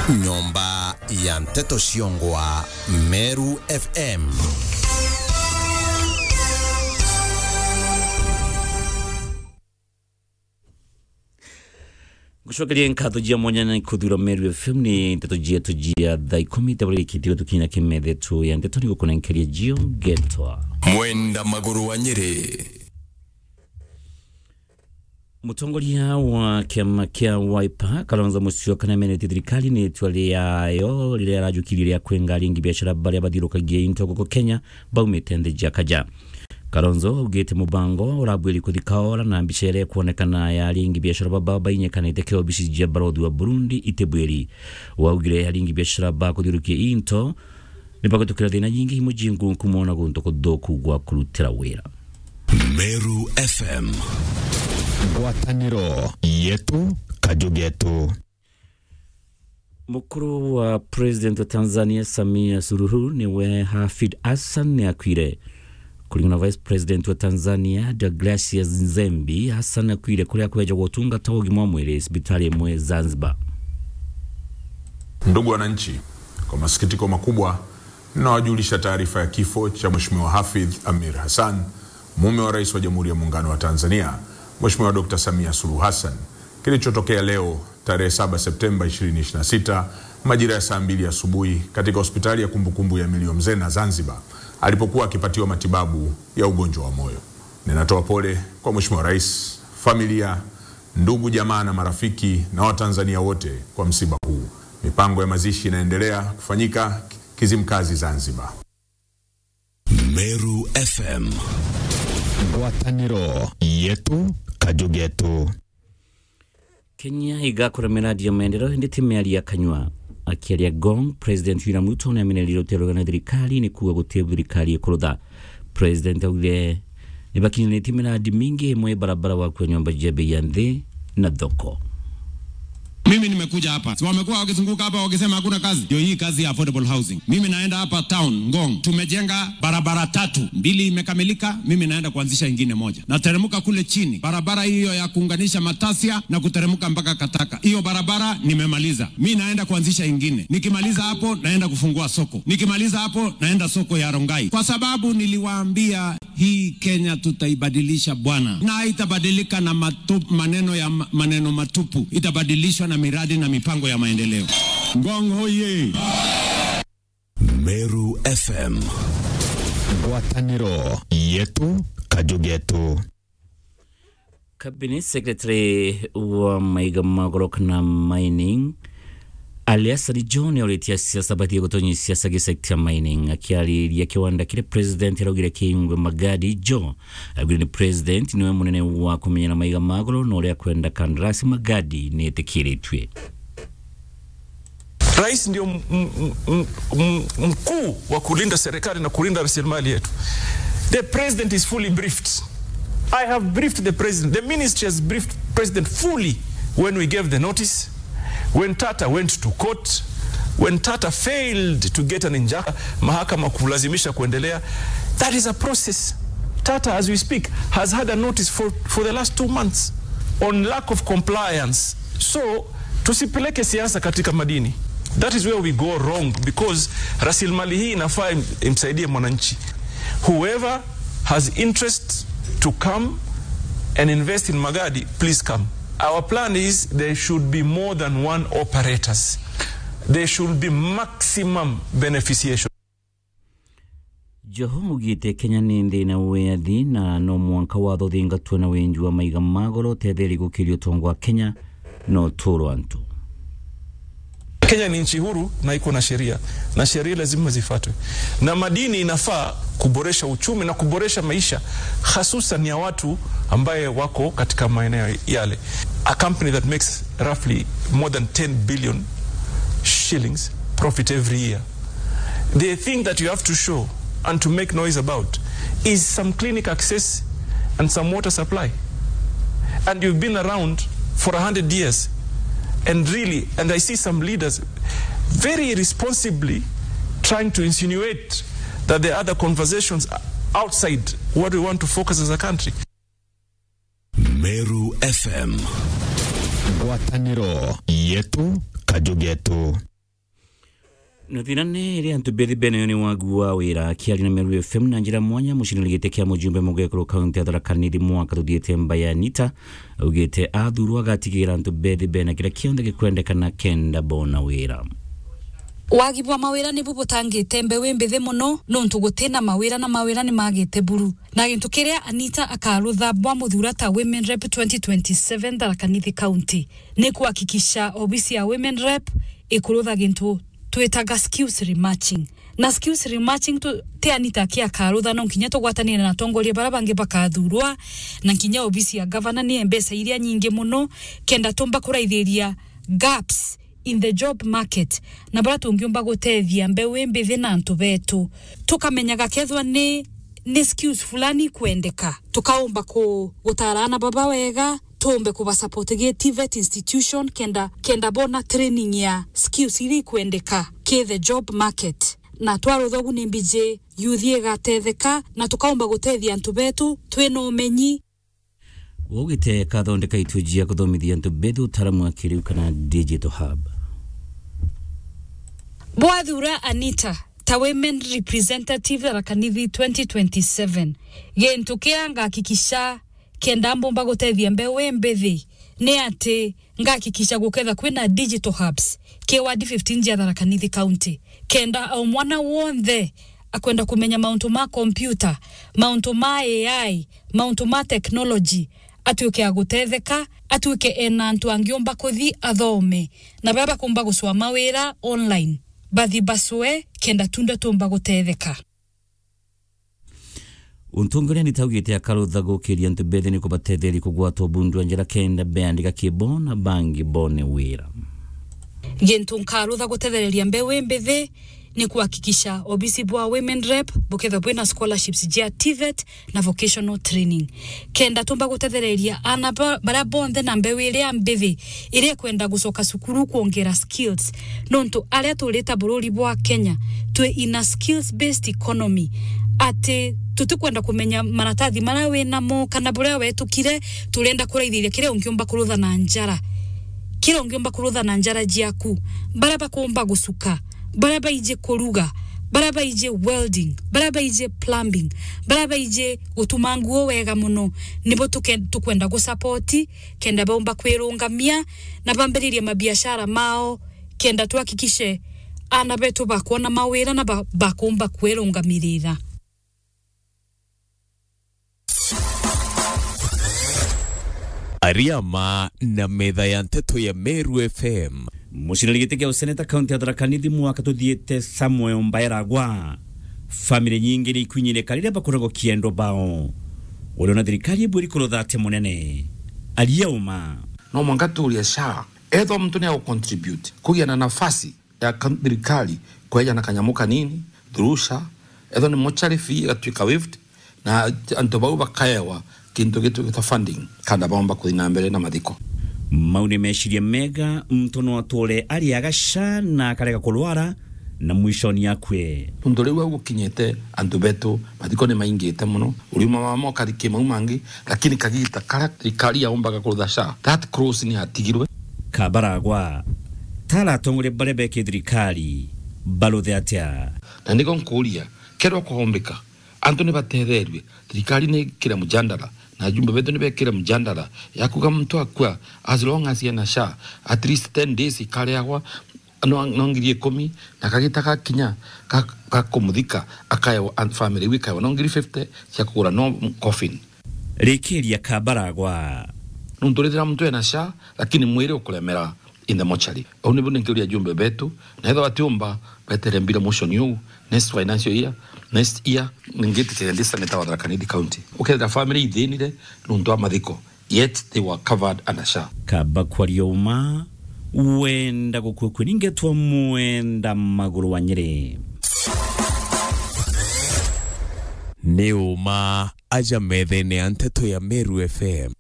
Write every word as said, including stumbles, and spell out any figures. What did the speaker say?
Nyomba ya nteto ciongwa Meru F M. Ngucokeria nkatho jia mwanya na kuthura Meru F M ni nteto jietu jia thaa ikumi, tabari kithi gutukinya kimethe tu ya nteto ni gukunenkeria jio ngetwa Mwenda Maguru wa Nyeri. Mutongoria wa kiama kia Wiper, Kalonzo Musyoka, niamenetie thirikari ni itua riayo riria arajukirie ria kwenga aringi biashara baria bathiurukagia into guku Kenya baumite nthi ja kaja. Kalonzo augite mubango urabwiri kuthika ora na mbica iria ikwonekana ya aringi biashara baba bainyekanite ki obici jia barothi wa Burundi itibwiri. Waugire aringi biashara ba kuthiurukia into ni bagutukira thina nyingi imwe jingunku moona guntu kuthuku gwa kurutira wira. Meru F M. Ngwataniro yetu, kaju getu. Mukuru wa President wa Tanzania, Samia Suluhu, niwe Hafidh Hassan ni akwire. Kuringana na Vice President wa Tanzania, Deogratias Nzembi, Hassan akwire kuria kwejagwa utungata wa ugima wa mwiri cibitari imwe Zanzibar. Ndugu wananchi, kwa masikitiko makubwa, ninawajulisha taarifa ya kifo cha Mheshimiwa Hafidh Amir Hassan, mume wa Rais wa Jamhuri ya Muungano wa Tanzania, Mheshimiwa Doctor Samia Suluhu Hassan, kilichotokea leo tarehe saba Septemba ishirini ishirini na sita, majira ya saa mbili asubuhi, katika hospitali ya kumbukumbu ya Milio Mzena Zanzibar, alipokuwa akipatiwa matibabu ya ugonjwa wa moyo. Ninatoa pole kwa Mheshimiwa Rais, familia, ndugu, jamaa na marafiki na Watanzania wote kwa msiba huu. Mipango ya mazishi inaendelea kufanyika Kizimkazi, Zanzibar. Meru F M. Ngwataniro yetu, kaju getu. Kenya igakura miradi ya maendeleo, indi ti miario ya kanyua. Akiaria Ngong, President William Ruto ni amenerire uterugana thirikari ni kuuga guti thirikari ikurutha. President augire ni bakinyanitie miradi mingi, imwe barabara wa kwa nyomba jia bei ya nthi na thoko. Mimi nimekuja hapa. Si wamekuwa wakizunguka hapa wakisema hakuna kazi? Ndio hii kazi ya affordable housing. Mimi naenda hapa town, Ngong. Tumejenga barabara tatu. Mbili imekamilika, mimi naenda kuanzisha ingine moja. Nateremka kule chini. Barabara hiyo ya kuunganisha Matasia na kuteremka mpaka Kataka. Hiyo barabara nimemaliza. Mi naenda kuanzisha ingine. Nikimaliza hapo, naenda kufungua soko. Nikimaliza hapo, naenda soko ya Rongai. Kwa sababu niliwaambia hii Kenya tutaibadilisha, bwana. Na haitabadilika na matu-, maneno ya ma-, maneno matupu. Itabadilishwa na miradi na mipango ya maendeleo. Ngong hoye! Meru F M. Ngwataniro yetu, kaju getu. Cabinet Secretary wa maiga ma goro kana mining, Ali Hassan Joho, ni auritie asiasa batige gutonyia siasa gi sector ya mining. Akiariria kiwanda kiria president araugire kiingwe Magadi, Joho augire ni president niwe munene wa kumenyera maiga ma goro, na uria akwenda kandarasi Magadi ni itikiritue. Rais ndio m-, m-, m-, m-, mkuu wa kulinda serikali na kulinda rasilimali yetu. The president is fully briefed. I have briefed the president. The ministry has briefed president fully when we gave the notice, when Tata went to court, when Tata failed to get an injunction, mahakama kulazimisha kuendelea. That is a process. Tata, as we speak, has had a notice for, for the last two months on lack of compliance. So, tusipeleke siasa katika madini. That is where we go wrong, because rasilimali hii inafaa im-, imsaidie mwananchi. Whoever has interest to come and invest in Magadi, please come. Our plan is there should be more than one operators. There should be maximum beneficiation. Joho augite Kenya ni nthi ina wiathi na no mwanka watho uthingatwe na winji wa maiga ma goro utetherie gukiria utonga wa Kenya na uturo wa antu. Kenya ni nchi huru na iko na sheria, na sheria lazima zifuatwe. Na madini inafaa kuboresha uchumi na kuboresha maisha, hasusan ya watu ambaye wako katika maeneo yale. A company that makes roughly more than ten billion shillings profit every year. The thing that you have to show and to make noise about is some clinic access and some water supply. And you've been around for a hundred years. And really, and I see some leaders very irresponsibly trying to insinuate that there are other conversations outside what we want to focus as a country. Meru F M. Ngwataniro yetu, kaju getu. Na thina ni iria antu bethi bene yo ni wagu wa wira. Akiaria na Meru F M na njira mwanya, muciniri giti kia mujumbe mugekuru kaunti ya Tharaka Nithi mwaka tuthiite Mbae Anita, augite athurwa agatigira antu bethi bene kiria kionthe gikwendekana kenda bona wira. Wagi bwa mawira nibu butangite mbeu imbithi mono, nontu gutina mawira na mawira ni magite buru. Na gintu kiria Anita akarutha bwa muthura ta Women Rep twenty twenty-seven Tharaka Nithi County ni kuhakikisha obisi ya Women Rep ikurutha gintu twitaga skills rematching. Na skills rematching tu, ti Anita aki akarutha, no nkinya tugwatanire na atongoria baria bangi bakathurwa, na nkinya obisi ya gavana ni mbeca iria nyingi mono, kenda tumba kuraithiria gaps in the job market, na baria tungiumba gutethia mbeu imbithi na antu betu. Tukamenyaga kethwa ni, ni skills fulani ikwendeka, tukaumba ku-, gutara ana baba wega, tuumbe kuba support gi TVET institution, kenda, kenda bona training ya skills iria ikwendeka ki the job market. Na twarutha ugu ni mbiji youth igatetheka, na tukaumba gutethia antu betu twina umenyi. Ugite kathondeka itu jia kuthomithia antu bethi utaaramu wa kiriu kana digital hub. Bwathura Anita ta women representative Tharaka Nithi twenty twenty-seven, gintu kia ngahakikisha kenda mbumba gutethia mbeu imbithi ni ati ngahakikisha guketha kwina digital hubs ki ward fifteen jia Tharaka Nithi County, kenda o mwana wonthe akwenda kumenya mauntu ma computer, mauntu ma A I, mauntu ma technology, atuike a gutetheka, atuike ena antu angiumba kuthi athome, na baria bakumba gucwa mawira online, bathi bacwe, kenda tunde tumba gutetheka. Untu ungi uria Anita augite akarutha gukiria antu bethi ni kubatetheria kugwatwa bundu wa njira kenda beandika kibo na bangi bone wira. Gintu nkarutha gutethereria mbeu imbithi ni kuhakikisha obisi bwa Women Rep bukethwa bwina scholarships jia TVET na vocational training, kenda tumba gutethereria ana ba-, baria bonthe na mbeu iria mbithi iria ikwenda gucoka cukuru kwongera skills, nontu aria turita bururi bwa Kenya twi in a skills based economy, ati tutikwenda kumenya maratathi maria winamo kana buria wetukire, turenda kuraithiria kiria ungiumba kurutha na njara, kiria ungiumba kurutha na njara jiaku, baria bakumba gucuka, baria baiji kuruga, baria baiji welding, baria baiji plumbing, baria baiji gutuma nguo wega mono, nibo tuke-, tukwenda gusupport, kenda baumba kwirungamia na bambiririe mabiashara mao, kenda tuhakikishe ana betu bakwona mawira na ba-, bakumba kwirungamirira. Ariama na metha ya nteto ya Meru F M. Muciniri giti kia useneta kaunti ya Tharaka Nithi mwaka tuthiite Samuel Mbaeragwa. Family nyingi ni ikwinyirika riria bakuragwa kiendo bao. Uriona thirikari ibwiri kurutha atia munene? Aria uma. No mwanka turia SHA. Ethwa muntu ni agu contribute, kugia na nafasi ya ka-, thirikari kweja na kanyamu kanini, through SHA, ethwa ni mortuary fee igatuika waived, na antu bau bakaewa kintu gitwikite funding, kanda baumba kuthi na mbere na mathiko. Mau ni meciria mega, muntu no ature ariaga SHA na akarega kurwara, na mwishoni akue. Nontu riu au gukinyite, antu betu mathiko ni maingite mono, uriuma wa mokari kimau mangi, lakini kagita karia thirikari yaumbaga kurutha SHA, that clause ni yatigirwe. Kabaragwa, tara atongoria baria beki thirikari, baruthe atia? Na niko nkuria, kethirwa kwaumbika, antu ni batetherue, thirikari ni ikire mjandara, na ajumbe betu ni bekire mjandara, ya kuga muntu akua, as long as ena SHA, at least ten days ikariagwa, no, no ngiri ikumi, na kagita gakinya ga, ga kumuthika, akaewa, and family iu ikaewa no ngiri fifty cia kugura no coffin. Rikiria Kabaragwa. Nontu rithira muntu ena SHA, lakini mwiri ukuremera in the mortuary. Au nibu ninkiuria ajumbe betu, na ethwa batiumba betere mbira motion iu, next financial year, next year, ningitikiria ndi senator wa Tharaka Nithi County. Ukethira family ithinire nontu wa mathiko, yet they were covered under SHA. Kaba kwaria uma, wenda gukua kwe ningetwa mwenda maguru wa Nyeri. Ni uma aja methene ya nteto ya Meru F M.